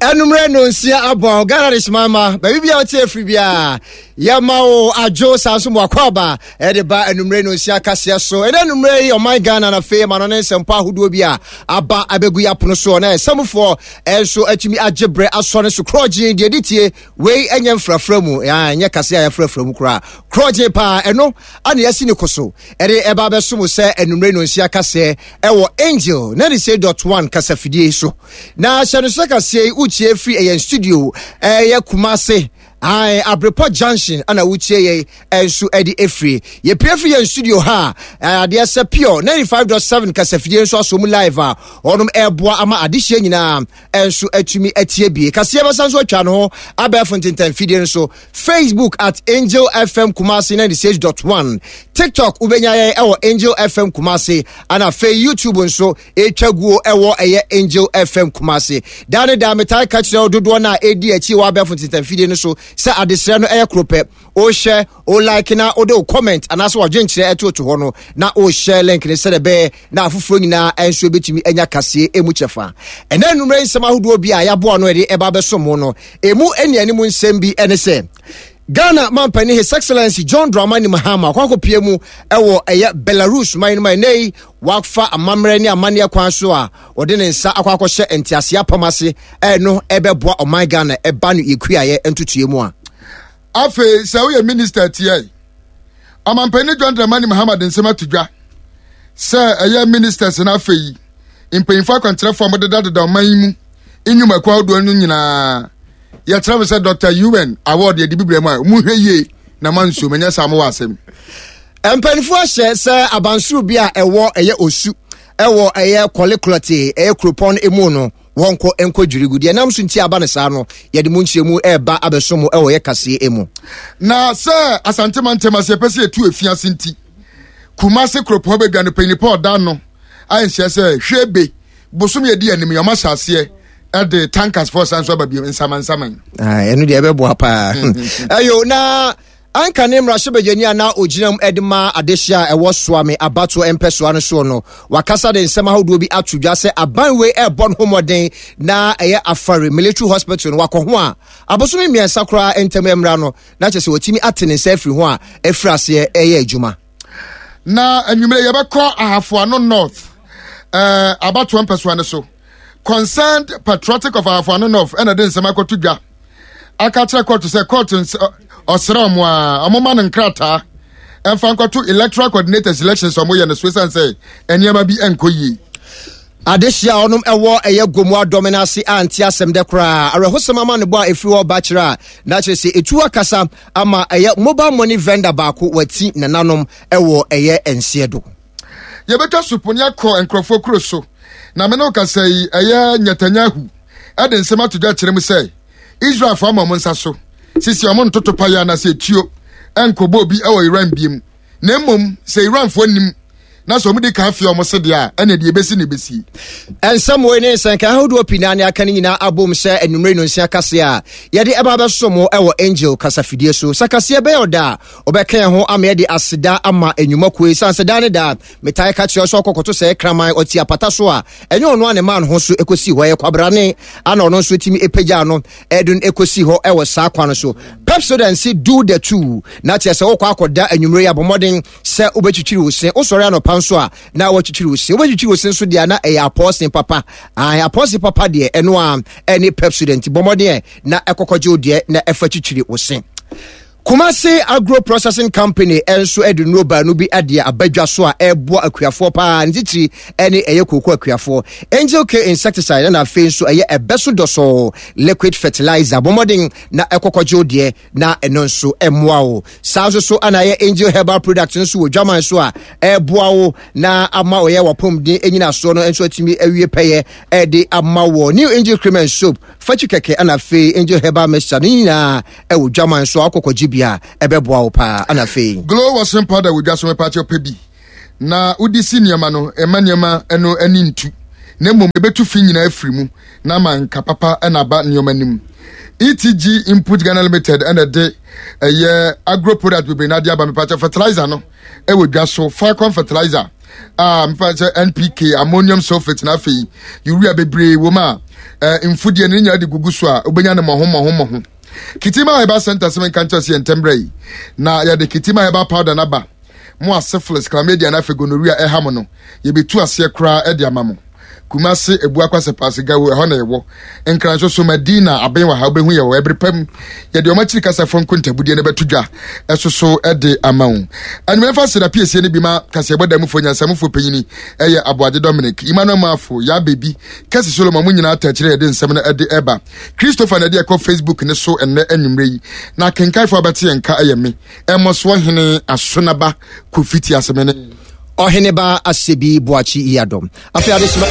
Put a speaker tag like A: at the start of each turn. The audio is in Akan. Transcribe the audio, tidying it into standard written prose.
A: Anummerɛ nonsia abɔn Ghana de soma ma baabi bia wote afiri biara yɛma wo adwo saa nso mu akɔaba ɛde ba anummerɛ nonsia kaseɛ so. Ɛnɛ anummerɛ yi ɔman Ghana na afei ma no ne nsɛmpɔ ahodoɔ bi a aba abɛgu yɛ apono soɔ na ɛsɛmfoɔ ɛnso atumi agye berɛ asɔ ne so korɔgyen deɛ de tie wei ɛnyɛ mfrafra mu ɛnyɛ kaseɛ a yɛfrafra mu koraa korɔgyen paa ɛno ana yɛasi ne ko so ɛde ɛba abɛso mo sɛ anummerɛ nonsia kaseɛ ɛwɔ Angel 96.1 kasafidie so. Na hyɛ no sɛ kaseɛ yi wotie firi ɛyɛn studio ɛyɛ Kumase ae Abrepɔ Junction ana wotie yɛn nso ɛde efiri. Yɛpue firi yɛn studio ha a adeɛ sɛ Pure 95.7 kasafidie nso aso mu live a wɔnom ɛreboa ama adehyeɛ nyinaa nso atumi atie bie. Kaseɛ bɛsa nso atwa ne ho abɛɛfo ntentan fidie no so Facebook at Angel FM Kumasi 96.1, TikTok wobɛnya yɛn ɛwɔ Angel FM Kumasi, ana afei YouTube nso ɛtwa guo ɛwɔ ɛyɛ Angel FM Kumasi. Daa ne daa metaa ka kyerɛ wo dodoɔ no a ɛdi akyi wɔ abɛɛfo ntentamfidie no so sɛ adesrɛ no ɛyɛ koro pɛ. Wohyɛ, wo like na wode wo comment anaasɛ wadwenkyerɛ ɛtoto hɔ no na wohyɛ link no sɛdeɛ ɛbɛyɛ na afoforɔ nyinaa nso bɛtumi anya kaseɛ ɛmu kyɛfa. Ɛnɛ anwummerɛ nsɛm ahodoɔ bi a yɛaboa no ɛde ɛba abɛso mo no, ɛmu anianim nsɛm bi ɛne sɛ Ghana mampanin His Excellency John Dramani Mahama akɔ akɔpie mu ɛwɔ ɛyɛ Belarus man no mu ɛnɛ yi wafa amammerɛ ne amanneɛ kwan so a ɔde ne nsa akɔ akɔhyɛ nteaseɛ apam ase ɛno ɛbɛboa ɔman Ghana ɛba no yɛkuayɛ ntotoeɛ mu a.
B: Afei sɛ woyɛ minista tiae. Ɔmampanin John Dramani Mahama de nsɛm ato dwa sɛ ɛyɛ ministers no afei mpanyinfo akwankyerɛfo a wɔdedadeda ɔman yi mu nnwumakuo ahodoɔ no nyinaa yɛkyerɛ mo sɛ Dr. UN award yɛde bibire mu a mohwɛ yie na mansuo menyɛ saa mowɔ asɛm.
A: Mpanimfoɔ ahyɛ sɛ abansoro bi a ɛwɔ ɛyɛ osu ɛwɔ ɛyɛ kɔleklɔte ɛyɛ kuropɔn emu no wɔnkɔ nkɔ dwiri gu. Deɛ ɛnam so nti aba no saa no, yɛde mu nkyerɛmu ɛreba abɛso mo ɛwɔ yɛ kaseɛ mu.
B: Na sɛ Asante mantam ase yɛpɛ sɛ yɛtu afiase nti, Kumase kuropɔn badwa no panyin pa ɔda no ayɛ nhyɛ sɛ hwɛ be bosom yɛdi anim yɛ ɔma hyɛ aseɛ ɛde tankers fɔ san so aba bio nsamansaman.
A: Ɛno deɛ ɛbɛboa paa. Ɛyo na Anka ne mmarahyɛbadwani a na ogyina mu de ma adehye a ɛwɔ Suame abatoɔ mpɛsoa no soɔ no, wakasa de nsɛm ahodoɔ bi ato dwa sɛ aban wei ɛrebɔ ne ho mmɔden na ɛyɛ Afari Military Hospital no wakɔ ho a abosome mmiɛnsa koraa ntam mmra no na kyerɛ sɛ watumi ate ne nsa afiri ho a afiri aseɛ ɛyɛ adwuma.
B: Na anwummerɛ yɛbɛkɔ Ahafoano North eh, abatoɔ mpɛsoa no so. Concerned Patriotic of Ahafoano North ɛna de nsɛm akɔto dwa aka kyerɛ kɔɔto sɛ kɔɔto ɔsrɛ ɔmo a ɔmo ma no nkrataa ɛmfa nkɔto electoral coordinators elections ɔmo yɛ no so esan sɛ nneɛma bi ɛnkɔ yie.
A: Adehye a ɔnom ɛwɔ ɛyɛ Gomu adɔme no ase a nte asɛm dɛ koraa. Awerɛhosɛm amanebɔ a ɛfiri hɔ ba kyerɛ a na kyerɛ sɛ ɛtu akasa ama ɛyɛ mobile money vendor baako wati nananom ɛwɔ ɛyɛ nseɛ do.
B: Yɛbɛtwa supone akɔ nkurɔfoɔ kuro so na me ne wo kasa yi ɛyɛ Netanyahu ɛde nsɛm ato dwa kyerɛ mu sɛ Israelfoɔ ama wɔn nsa so sisi wɔn ntoto paeɛ anaasɛ etuo ɛnkɔbɔ obi ɛwɔ Iran biem na mmom sɛ Iranfoɔ nim na sɛ wɔn di kan fie wɔn se deɛ a ɛna deɛ ebesi na ebesi.
A: Nsɛm wei ne nsɛnka ahodoɔ pii naa ne aka no nyinaa abom sɛ anwummere nonsia kaseɛ a yɛde ɛba abɛso mo ɛwɔ Angel kasafidie so. Sɛ kaseɛ bɛyɛ ɔda a wobɛka yɛn ho ama yɛde aseda ama nnwumakuo yi sane sɛ daa ne daa metae ka kyerɛ sɛ ɔkɔkɔto sɛ kraman ɔte apata so a ɛnyɛ ɔno a ne maa no ho so ɛkɔsi hɔ ɛyɛ kwabrane ana ɔno nso tumi ɛpagyaa no ɛde no ɛkɔsi hɔ ɛwɔ saa kwan no so. Pepsodent se do the two na kyerɛ sɛ wokɔ akɔda anwummere yi abɔmmɔden sɛ wobɛtwitwiri wo se wosɔre anɔpa nso a na watwitwiri wo se wobɛtwitwiri wo se nso deɛ na ɛyɛ apɔɔse papa apɔɔse papa deɛ ɛno a ɛne Pepsodent bɔmmɔden na ɛkɔkɔgye wo deɛ na ɛfa twitwiri wo se. Kumasi Agro Processing Company nso de nnuro baanu bi de aba dwa so a ɛreboa akuafoɔ paa, ne titiri ne ɛyɛ kooko akuafoɔ. Angel K insecticide ɛna afei nso ɛyɛ ɛbɛ so dɔsɔɔ liquid fertilizer. Bɔ mmɔden na ɛkɔkɔgye wo deɛ na ɛno nso ɛmmoa wo. Saa nso so ana ɛyɛ Angel Herbal Product nso wɔ dwaman so a ɛreboa wo na ama ɔyɛ wapɔmuden nyinasoɔ no nso atumi awie pɛyɛ ɛde ama wɔ. New Angel Cream and Soap, fakyi kɛkɛ ɛna afei Angel Herbal Mixture ne nyinaa ɛwɔ dwaman so akɔkɔgye bi a ɛbɛboa wo paa ana afei.
B: Glow washing powder wɔ dwa so mepaakyɛw pɛ bi na wode si nneɛma no ɛma nneɛma no ani ntu na mmom ɛbɛtu fi nyinaa afiri mu na ama nka papa na aba nneɛma no mu. ETG Input Ghana Limited ɛna ɛde ɛyɛ agro product bebree na ade aba mepaakyɛw fertilizer no ɛwɔ dwa so Falcon fertilizer. A mfa sɛ NPK, ammonium sulfate na afei urea bebree wɔ mu a eh, mfudeɛ no ne nyinaa de gugu so a wobɛnya no mmɔho mmɔho mmɔho. Kitima Herbal Center sɛ menka nkyerɛ sɛ yɛntɛm berɛ yi na yɛde Kitima Herbal Powder no aba mo a syphilis, chlamydia na afei gonorrhea ɛha mo no yɛbɛtu aseɛ koraa de ama mo. Kumase Abuakwa Sɛpaase Gawo ɛhɔ na yɛwɔ. Nkran nso so Madina aben wɔ ha wobɛhu yɛ wɔ ɛbere pa mu. Yɛde wɔn akyiri kasafoɔ nkontabudeɛ no bɛto dwa ɛso so de ama wo. Anwummerɛ fa seda piesie no bi ma kaseɛbɔ da mufoɔ nyansamufoɔ panyini ɛyɛ Aboagye Dominic, Emmanuel Maafo, Yaa Baby, Kɛse Solomon mo nyinaa ta akyire yɛde nsɛm no ɛde ɛba. Christopher na ɛde ɛkɔ Facebook ne so ɛnnɛ anwummerɛ yi. Na akenkanfoɔ abɛte yɛn nka ɛyɛ me, Ɛmɔsoɔ Hene Asonaba Kofi Tiasemene.
A: Ɔheneba Asebi Boakye Yiadom. Afei adehyema.